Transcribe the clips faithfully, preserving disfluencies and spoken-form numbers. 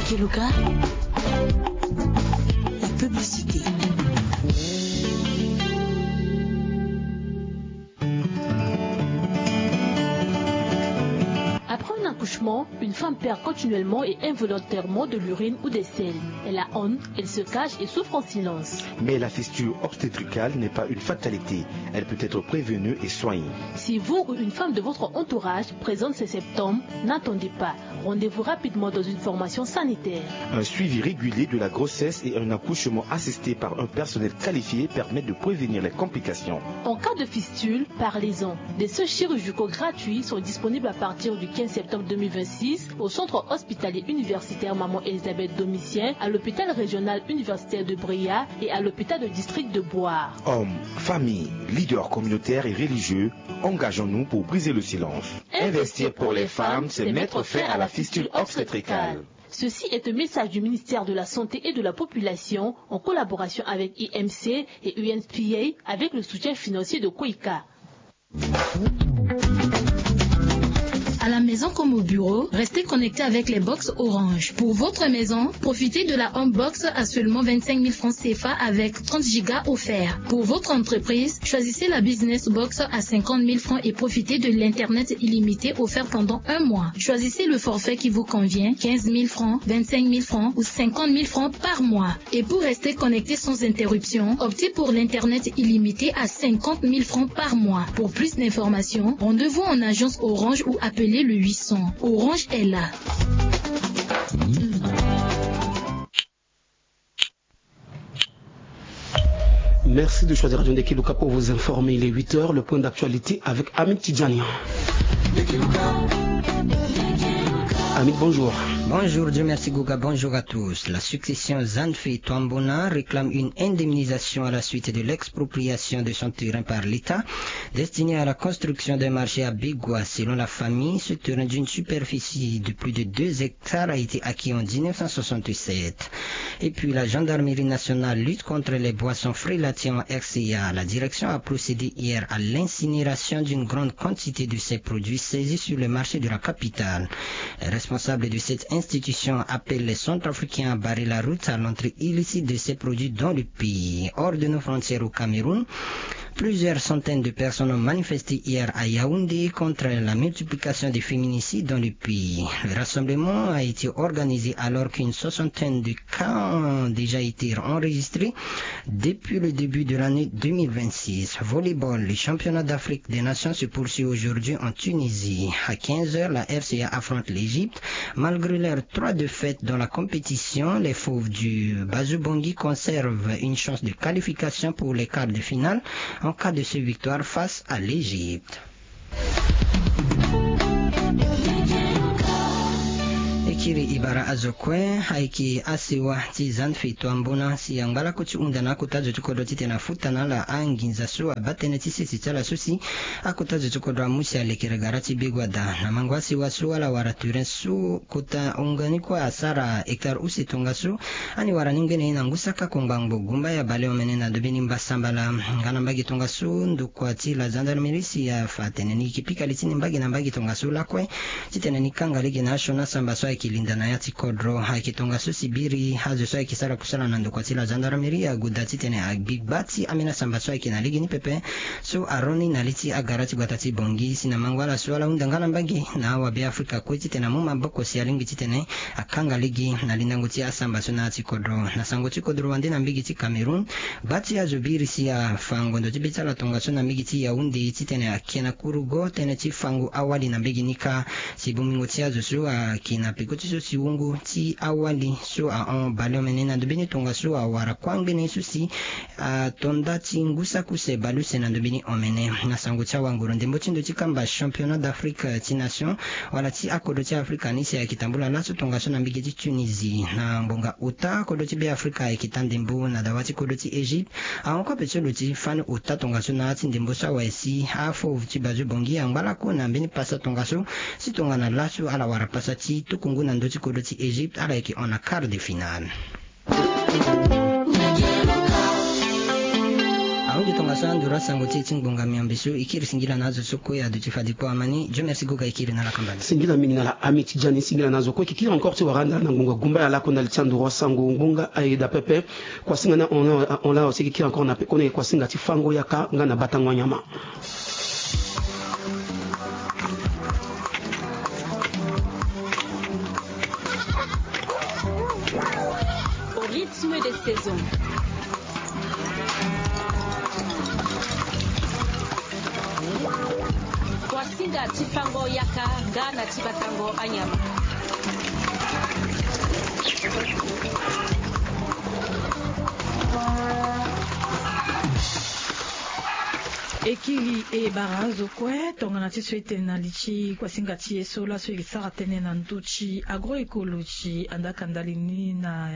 Keluka, la publicité. Après un accouchement, une femme perd continuellement et involontairement de l'urine ou des selles. Elle a honte, elle se cache et souffre en silence. Mais la fistule obstétricale n'est pas une fatalité. Elle peut être prévenue et soignée. Si vous ou une femme de votre entourage présente ces symptômes, n'attendez pas. Rendez-vous rapidement dans une formation sanitaire. Un suivi régulier de la grossesse et un accouchement assisté par un personnel qualifié permettent de prévenir les complications. En cas de fistule, parlez-en. Des soins chirurgicaux gratuits sont disponibles à partir du quinze septembre deux mille vingt-six au centre hospitalier universitaire Maman Elisabeth Domitien, à l'hôpital régional universitaire de Bria et à l'hôpital de district de Boar. Hommes, familles, leaders communautaires et religieux, engageons-nous pour briser le silence. Investir pour les femmes, c'est mettre fin à la fistule obstétricale. Ceci est un message du ministère de la Santé et de la Population en collaboration avec I M C et U N F P A avec le soutien financier de Koika. À la maison comme au bureau, restez connectés avec les box Orange. Pour votre maison, profitez de la Home Box à seulement vingt-cinq mille francs C F A avec trente gigas offerts. Pour votre entreprise, choisissez la Business Box à cinquante mille francs et profitez de l'Internet illimité offert pendant un mois. Choisissez le forfait qui vous convient, quinze mille francs, vingt-cinq mille francs ou cinquante mille francs par mois. Et pour rester connecté sans interruption, optez pour l'Internet illimité à cinquante mille francs par mois. Pour plus d'informations, rendez-vous en agence Orange ou appelez le huit cents. Orange est là. Merci de choisir Radio Ndekeluka pour vous informer. Il est huit heures, le point d'actualité avec Hamid Tidjani. Hamid, bonjour. Bonjour, Dieu merci Guga, bonjour à tous. La succession Zanfi Twambona réclame une indemnisation à la suite de l'expropriation de son terrain par l'État, destiné à la construction d'un marché à Bigwa. Selon la famille, ce terrain d'une superficie de plus de deux hectares a été acquis en dix-neuf cent soixante-sept. Et puis, la gendarmerie nationale lutte contre les boissons frilatières en R C A. La direction a procédé hier à l'incinération d'une grande quantité de ces produits saisis sur le marché de la capitale. Les responsables de cette institution appellent les Centrafricains à barrer la route à l'entrée illicite de ces produits dans le pays. Hors de nos frontières au Cameroun, plusieurs centaines de personnes ont manifesté hier à Yaoundé contre la multiplication des féminicides dans le pays. Le rassemblement a été organisé alors qu'une soixantaine de cas ont déjà été enregistrés depuis le début de l'année deux mille vingt-six. Volleyball, le championnat d'Afrique des Nations se poursuit aujourd'hui en Tunisie. À quinze heures, la R C A affronte l'Égypte. Malgré leurs trois défaites dans la compétition, les Fauves du Bazou Bangui conservent une chance de qualification pour les quarts de finale en cas de victoire face à l'Égypte. E kiri e bara azo kue, ayeke asewa ti Zanfi Twambona si angba lakue ti hunda na akota zo ti kodro titene afuta na ala anginza so abaa tënë ti sese ti ala so si akota zo ti kodro amu si alekere gara ti Bigwa daa. Na mango asewa so ala wara terrain so kota hunga ni kue asara hectare use tongaso. Ani wara ni ngbene ye na ngu saka kongba ngbo gumba ya baleomene na dobe ni mbasambala. Nga na mbage tongaso ndokua ti la gendarmerie si afa atene ni yeke pika li ti ni mbage na mbage tongaso lakue titene ni kanga lege na asioni asamba so ayeke linda na ya ti kodro. Ayeke tongaso si biri azo so ayeke sara kusala na ndokua ti la gendarmerie ague daa titene agbi gba ti ambeni asamba so ayeke na lege ni pepe so aroni na li ti agara ti gbata ti Bangui si na mango ala so ala hunda nga na mbage na awabe Afrika kue titene amu maboko si alingbi titene akanga lege na lindango ti asamba so na ya ti kodro. Na sango ti kodro wande na mbage ti Cameroun, gba ti azo biri si afa ngondo ti be ti ala tongaso na mbage ti Yaoundé titene ake na kurugo tënë ti fango awali na mbage ni kâ. Si bongbingo ti azo so ayeke na peko ti so si wungu ti awali so ahon baleomene na ndo mbeni tongaso awara kuâ ngbene so si ato nda ti ngu saki use baleuse na ndo mbeni omene. Na sango ti awanguru ndembo ti ndo ti kamba championnat d'Afrique ti nation wala ti akodro ti Afrika ni si ayeke tambula laso tongaso na mbage ti Tunisie na ngbonga ota. Kodro ti Beafrika ayeke taa ndembo na dawa ti kodro ti Égypte. Ahon kue ape ti lo ti fani ota tongaso na ya ti ndembo so awe si afauve ti Bazou Bangui angba lakue na mbeni pasa tongaso si tongana laso ala wara pasa ti tuku ngu na ndö ti kodro ti Égypte ala yeke hon na quart de finale. Ahunzi tongaso anduru asango ti e ti ngbonga miombe so e kiri singila na azo so kue aduti fade kpo amani. Dieu merci goga e kiri na ala kamba ni. Singila mingi na ala Ami Tidjani, singila na azo kue e ke kiri encore ti wara ndali na ngbonga gumba ya lako ndali ti anduru asango ngbonga ayeda pepe. Kuasinga ni ahon laa aussi e ke kiri encore na pekoni ayeke kuasinga ti fango yaka nga na batango anyama. Au rythme des saisons. Kuasinga ti fango yaka nga na ti batango anyama. E kiri e bara azo kue tongana ti so e tene na li ti kuasinga ti e so laso e sara tënë na ndö ti agroecologie. Andaka ndali ni na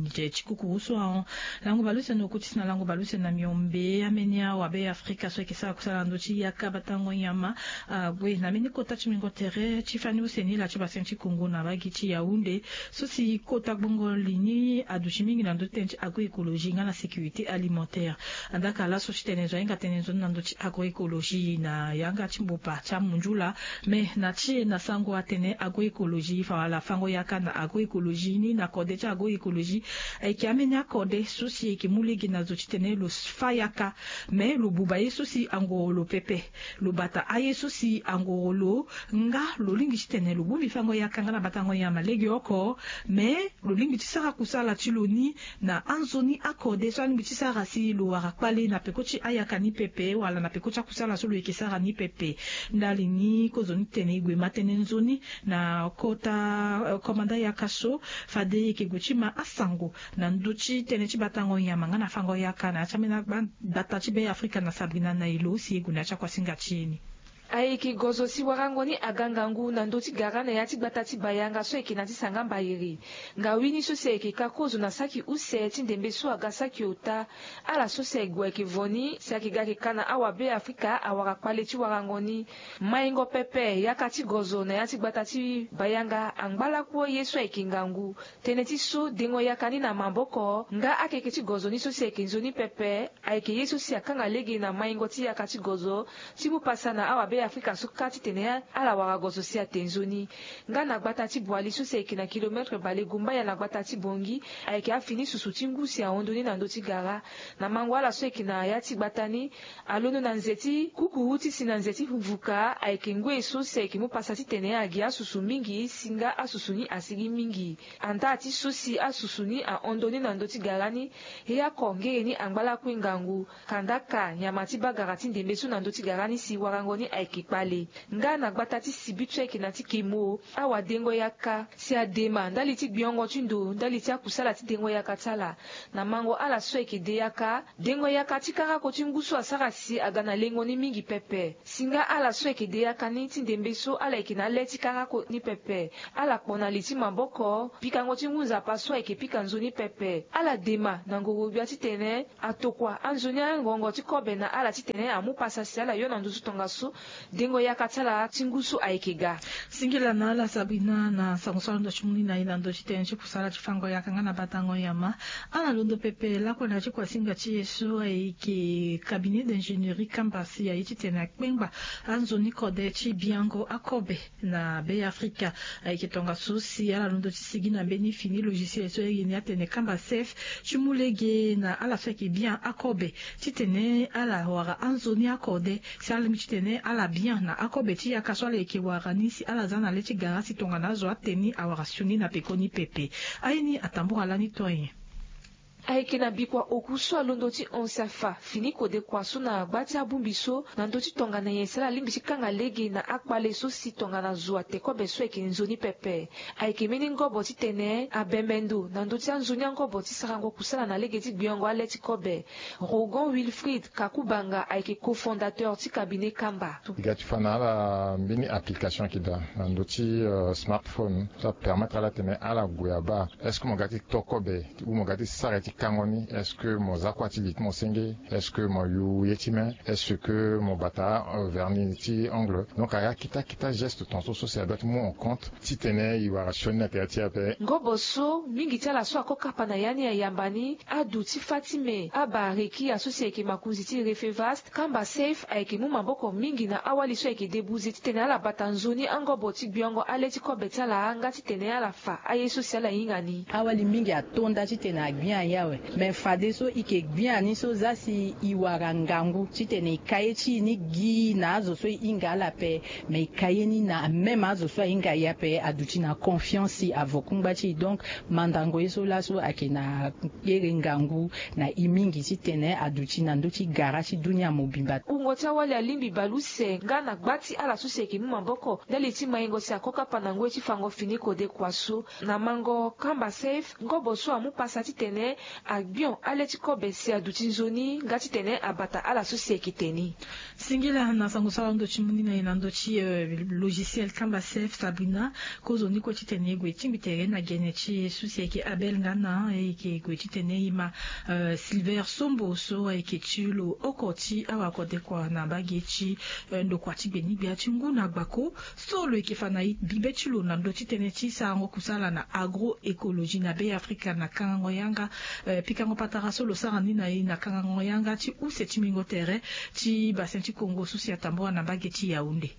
nze ti kukuru so ahon lango baleuse na oku ti si na lango baleuse na miombe, ambeni awabe afrika so ayeke sara kusala na ndö ti yaka batango nyama ague na mbeni kota ti mingo tere ti fani use ni laa ti baseng ti kongo na bagi ti yaounde. So si kota gbongo li ni aduti mingi na ndö ti tënë ti agroecologie nga na sécurité alimentaire. Andaka laso ti tene zo ahinga tene nzoni na ndö ti agroecologie na yanga ti mbopa ti amundula. Me na ti e na sango atene agroecologie fa wala fango yaka na agroecologie ni na kode ti agroecologie ayeke ambeni akode so si eke mu lege na zo ti tene lo fa yaka. Me lo buba ye so si angoro lo pepe, lo bata aye so si angoro lo nga lo lingbi ti tene lo bongbi fango yaka nga na batango nyama legeoko. Me lo lingbi ti sara kusala ti lo ni na anzoni akode so alingbi ti sara si lo wara kpale na peko ti ayaka ni pepe wala na peko ti akusala so lo yeke sara ni pepe. Ndali ni kozo ni tene e gue ma tene nzoni na kota komanda yaka so fade e yeke gue ti ma asango na ndö ti tënë ti batango nyama nga na fango yaka na ya ti ambeni agbata ti be afrika na sabrina na elo si e gue na ya ti akuasinga ti e ni. Ayeke gozo si warango ni aga ngangu na ndö ti gara na ya ti gbata ti bayanga so ayeke na ti sanga mbayiri. Ngawini so si ayeke ka kozo na saki use ti ndembe so aga saki ota. Ala so si ague ayeke vo ni si ayeke ga ayeke ka na awabe afrika awara kpale ti warango ni. Maingo pepe yaka ti gozo na ya ti gbata ti bayanga angba lakue ye so ayeke ngangu. Tënë ti so dengo yaka ni na maboko nga akeke ti gozo ni so si ayeke nzoni pepe. Ayeke ye so si akanga lege na maingo ti yaka ti gozo ti mu pasa na awabe afrika so kâ titene ala wara gozo si ate nzoni. Nga na gbata ti boili so si ayeke na kilometre balegumbaya na gbata ti bongi. Ayeke afini susu ti ngu si ahon ndoni na ndö ti gara na mango ala so ayeke na ya ti gbata ni. Alondo na nze ti kukuru ti si na nze ti vuka ayeke ngoi so si ayeke mu pasa titene agi asusu mingi si nga asusu ni asigi mingi. Andaa ti so si asusu ni ahon ndoni na ndö ti gara ni. He ako ngere ni angba lakue ngangu. Kandaka nyama ti bagara ti ndembe so na ndö ti gara ni si warango ni ayeke kpale. Nga na gbata ti sibi so ayeke na ti kemo awadengo yaka si adema ndali ti gbiongo ti ndo ndali ti akusala ti dengo yaka ti ala. Na mango ala so ayeke de yaka dengo yaka ti karako ti ngu so asara si aga na lengo ni mingi pepe. Si nga ala so ayeke de yaka ni ti ndembe so ala yeke na le ti karako ni pepe. Ala kpo na li ti maboko pikango ti ngu nzapa so ayeke pika nzoni pepe. Ala dema na ngoro-gbia titene atokua anzoni angongo ti kobe na ala titene amu pasa si ala yo na nduzu tongaso. Dengo yaka ti ala ti ngu so ayeke ga. Singila na ala sabrina na sango so alondo ti mu ni na e na ndö ti tënë ti kusala ti fango yaka nga na batango nyama. Ala londo pepe lakue na ya ti kuasinga ti e so ayeke cabinet d'ingénierie kamba si aye titene akpengba anzoni kode ti biango akobe na be afrika. Ayeke tongaso si ala londo ti sigi na mbeni fini logiciel so aye ni atene kamba sef ti mu lege na ala so ayeke bian akobe titene ala wara anzoni akode si ala lingbi titene ala bian na akobe ti yaka so ala yeke wara ni si ala za na le ti gara si tongana azo ate ni awara sioni na pekoni pepe. Aye ni atambura lani to nyen? Ayeke na bikua oku so alondo ti hon si afa fini kode kua so na gba ti abongbi so na ndö ti tongana nyen si ala lingbi ti kanga lege na akpale so si tongana zo ate kobe so ayeke nzoni pepe. Ayeke mbeni ngobo titene abembe ndo na ndö ti anzoni angobo ti sarango kusala na lege ti gbiongo ale ti kobe. Rogon wilfrid kakubanga ayeke cofondateur ti cabinet kamba. E ga ti fa na ala mbeni application ayeke daa na ndö ti smartphone so apermettre ala tene ala gue abaa. Est-ce que mo ga ti to kobe ou mo ga ti sara ye ti Tango ni, est-ce que mo za kua ti li ti mo senge? Est-ce que mo yu ye ti me? Est-ce que mo bata vernis ti ongle? Donc aya kita kita geste tonso so si adua ti mu en compte titene e wara sioni na tere ti e ape. Ngobo so mingi ti ala so ako kapa na ya ni ayamba ni adu ti fa ti me. Abareki aso si ayeke makonzi ti Refevast, kamba Safe ayeke mu maboko mingi na awali so ayeke debuze titene ala bata nzoni angobo ti gbiongo ale ti kobe ti ala nga titene ala fa aye so si ala hinga ni. Awali mingi ato nda titene agbia aye awe. Me fadeso e yeke gbia ni so za si e wara ngangu titene e ka ye ti e ni gi na azo so e hinga ala ape. Me e ka ye ni na même azo so ahinga e ape aduti na confiance si avo kungba ti e. Donc mandango ye so laso ayeke na kpere ngangu na e mingi titene aduti na ndö ti gara ti dunia mobimba. Wungo ti awali alingbi bale use nga na gba ti ala so si ayeke mu maboko ndali ti maingo si ako kapa na ngoi ti fango fini kode kua so. Na mango kamba Safe, ngobo so amu pasa titene agbion ale ti kobe si aduti nzoni nga titene abata ala so si ayeke te ni. Singila na sango so ala hon ndo ti mu ni na e na ndö ti logiciel kamba Safe, Sabrina. Kozoni kue titene e gue tingbi tere na gene ti e so si ayeke Abel nga na e yeke gue titene e ma Silver Sombo so ayeke ti lo oko ti awa kode kua na mbage ti ndokua ti gbe ni gbia ti ngu na gbako. So lo yeke fa na e bibe ti lo na ndö ti tënë ti sarango kusala na agroecologie na Be Afrika na kangango yanga. Pikango patara so lo sara ni na e na kangango yanga ti use ti mingo tere ti Bassin ti Congo so si atambula na mbage ti Yaoundé.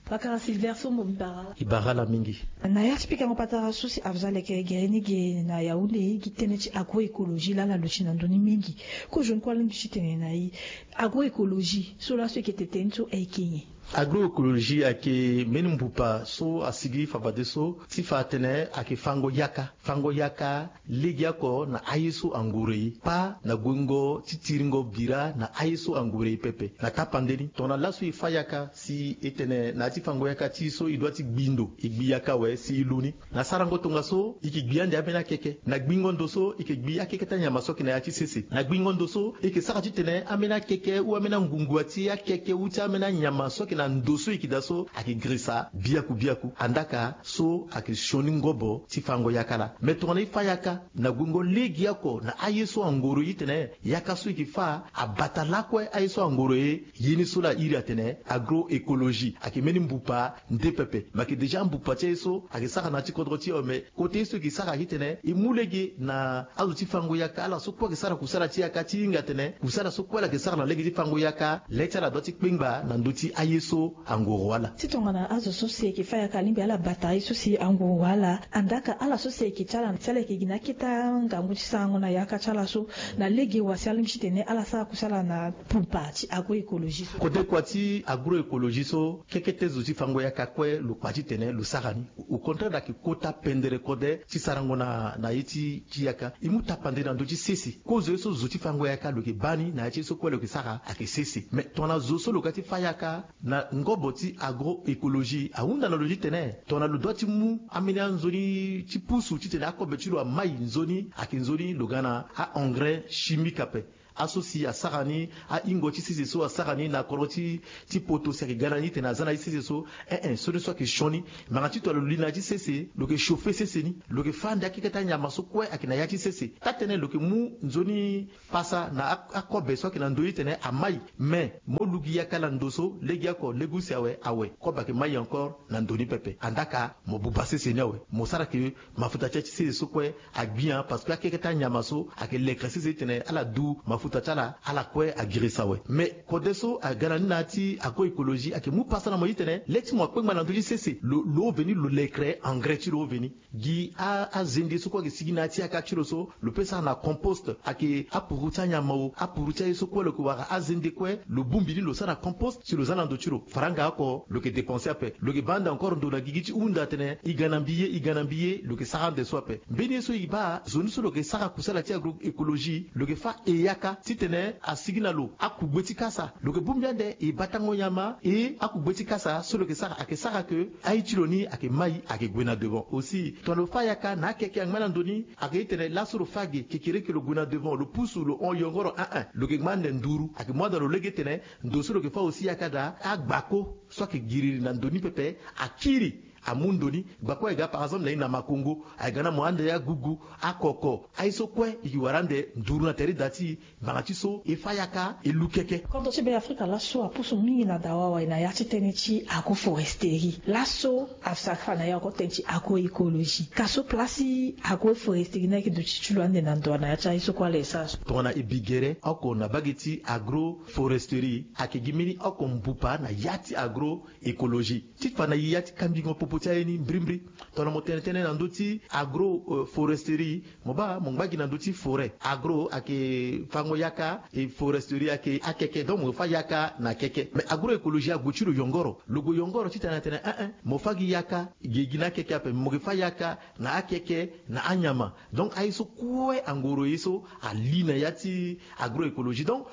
Pakara Silver Sombo, mbi bara ala. E bara ala mingi. Na ya ti pikango patara so si afa za lekere gere ni ge na Yaoundé, gi tënë ti agroecologie laa ala luti na ndö ni mingi. Kozoni kue alingbi ti tene na e agroecologie so laso e yeke tene ni so ayeke nyen? Agroecologie ayeke mbeni mbupa so asigi fafadeso ti fa atene ayeke fango yaka. Fango yaka legeoko na aye so angoro e, pas na guengo ti tiringo bira na aye so angoro e pepe. Na tapande ni tongana laso e fa yaka si e tene na ya ti fango yaka ti e so e dua ti gbi ndo, e gbi yaka awe si e lu ni. Na sarango tongaso e yeke gbi ande ambeni akeke. Na gbingo ndo so e yeke gbi akeke ti anyama so ayeke na ya ti sese. Na gbingo ndo so e yeke sara titene ambeni akeke ou ambeni angungua ti akeke ou ti ambeni anyama so ayeke na ndo so e yeke daa so ayeke girisa biaku biaku. Andaka so ayeke sioni ngobo ti fango yaka laa. Me tongana e fa yaka na guengo legeoko na aye so angoro e, titene yaka so e yeke fa abata lakue aye so angoro e. Ye ni so laa a iri atene agroecologie ayeke mbeni mbupa nde pepe. Me ayeke déjà mbupa ti aye so ayeke sara na ya ti kodro ti e awe. Me kota ye so e yeke sara titene e mu lege na azo ti fango yaka, ala so kue ayeke sara kusala ti yaka, ti hinga atene kusala so kue ala yeke sara na lege ti fango yaka, le ti ala dua ti kpengba na ndö ti aye so angoro ala. Ti tongana azo so si ayeke fa yaka alingbi ala bata aye so si angoro ala, andaka ala so si ayeke ti ala, si ala yeke gi na akete angangu ti sarango na yaka ti ala so, na lege wa si alingbi titene ala sara kusala na mbupa ti agroecologie so. Kode kua ti agroecologie so, kekete zo ti fango yaka kue lo kpa titene lo sara ni. Au contraire, ayeke kota pendere kode ti sarango na, na ye ti, ti yaka. E mu tapande na ndö ti sese. Kozo ye so zo ti fango yaka lo yeke baa ni na ya ti ye so kue lo yeke sara ayeke sese. Me tongana zo so lo ga ti fa yaka na ngobo ti agroecologie, ahunda na lo titene tongana lo dua ti mu ambeni anzoni ti pusu titene akobe ti lo amai nzoni, ayeke nzoni lo ga na a-engrais chimique ape. Aso si asara ni, ahingo ti sese so asara ni na kodro ti, ti poto si ayeke ga na ni tene aza na ye ti sese so. Ee, sioni so ayeke sioni. Ngbanga ti tongana lo li na ya ti sese, lo yeke chauffer sese ni, lo yeke fâ ande akeke ti anyama so kue ayeke na ya ti sese. Taa-tënë lo yeke mu nzoni pasa na a, akobe so ayeke na ndö ni titene amai. Me mo lu gi yaka na ndo so, legeoko, lege use awe, awe, kobe ayeke mai encore na ndo ni pepe. Andaka mo buba sese ni awe. Mo sara ke mafuta ti ya ti sese so kue agbia, parce que akeke ti anyama so ayeke lekere sese titene ala du mafuta ti ala, ala kue agirisa awe. Me kode so aga na ni na ya ti agroecologie ayeke mu pasa na mo titene le ti mo akpengba na ndö ti sese, lo, lo ove ni lo lekere engrais ti lo ove ni. Gi a, azende so kue ayeke sigi na ya ti yaka ti lo so, lo peut sara na compost. Ayeke apuru ti anyama o, apuru ti aye so kue lo yeke wara azende kue, lo bongbi ni lo sara na compost si lo za na ndo ti lo. Faranga oko lo yeke dépenser ape. Lo yeke baa ande encore ndo na gigi ti hunda atene e ga na mbi ye, e ga na mbi ye, lo yeke sara ande so ape. Mbeni ye so e baa, zo ni so lo yeke sara kusala ti agroecologie, lo yeke fâ e yaka titene asigi na lo akugbe ti kasa. Lo yeke bongbi ande e batango nyama, e akugbe ti kasa so lo yeke sara ayeke sara ke aye ti lo ni ayeke mai, ayeke gue na devant. Aussi tongana lo fâ yaka na akeke angba na ndo ni, ayeke tene laso lo fâ ge, kekereke lo gue na devant, lo pusu, lo hon yongoro, ah ah, lo yeke ngba ande nduru. Ayeke mu ande na lo lege tene ndo so lo yeke fâ aussi yaka daa, agbako so ayeke giriri na ndo ni pepe akiri. Amu ndo ni gba kue aye ga par exemple na ye na makongo aye ga na mo ande ya gugu akoko aye so kue e gi wara ande nduru na tere da ti e. Ngbanga ti so e fa yaka e lu keke. Kodro ti be afrika laso apusu mingi na dawa wai na ya ti tënë ti agroforesterie laso asara fa na ya oko tënë ti agroecologie ka so place ti agroforesterie ni ayeke duti ti lo ande na ndo na ya ti aye so kue ala e sara so. Tongana e bi gere oko na bage ti agroforesterie ayeke gi mbeni oko mbupa na ya ti agro écologie ti fa na ya ti kambingo popo ti aye ni mbrimbri. Tongana mo tene tënë na ndö ti agro foresterie mo baa mo ngba gi na ndö ti foret agro ayeke fango yaka e foresterie ayeke akeke donc mo fa yaka na keke mais agro écologie ague ti lo yongoro lo gue yongoro ti tene na tene eh eh mo fa gi yaka gi gi na akeke ape mo gi fa yaka na akeke na anyama. Donc aye so kue angoro ye so ali na ya ti agro écologie donc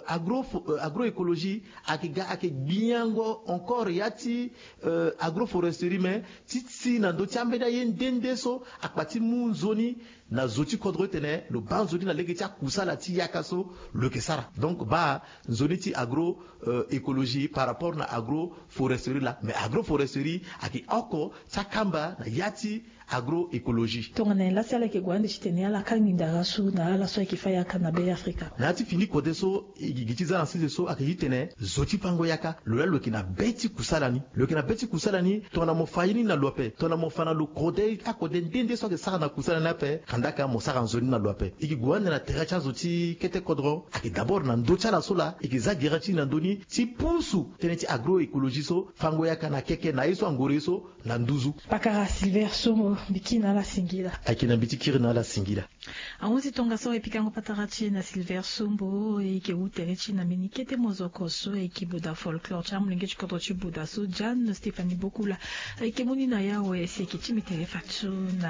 agro agro écologie ayeke ga ayeke gbiango encore ya ti agroforesterie mais ti ti na ndö ti ambeni aye nde nde so akpa ti mu nzoni na zo ti kodro ti tene lo baa nzoni na lege ti akusala ti yaka so lo yeke sara donc baa nzoni ti agro écologie par rapport na agroforesterie laa mais agroforesterie ayeke oko ti akamba na ya ti agroecologie. Tongana nyen lasi ala yeke gue ande ti tene ala ka nginda ga so na ala so ayeke fa yaka na be afrika. Na ya ti fini kode so e gi gi ti za na sese so ayeke ti tene zo ti fango yaka lo laa lo yeke na be ti kusala ni lo yeke na be ti kusala ni. Tongana mo fa ye ni na lo ape tongana mo fa na lo kode akode nde nde so ayeke sara na kusala ni ape kandaka mo sara nzoni na lo ape. E gi gue ande na tere ti azo ti kete kodro ayeke d'abord na ndö ti ala so laa e yeke za gere ti ni na ndö ni ti pusu tënë ti agroecologie so fango yaka na keke na ye so angoro ye so na nduzu. Pakara silver sombo mbi kiri na ala singila. Ayeke na mbi ti kiri na ala singila. Ahunzi tongaso e pikango patara ti e na silver sombo e yeke wu tere ti e na mbeni kete mozoko so e yeke boda folklore ti amolenge ti kodro ti boda so jan stephanie bokula. E yeke mu ni na yawe si e yeke ti mbi tere fadeso na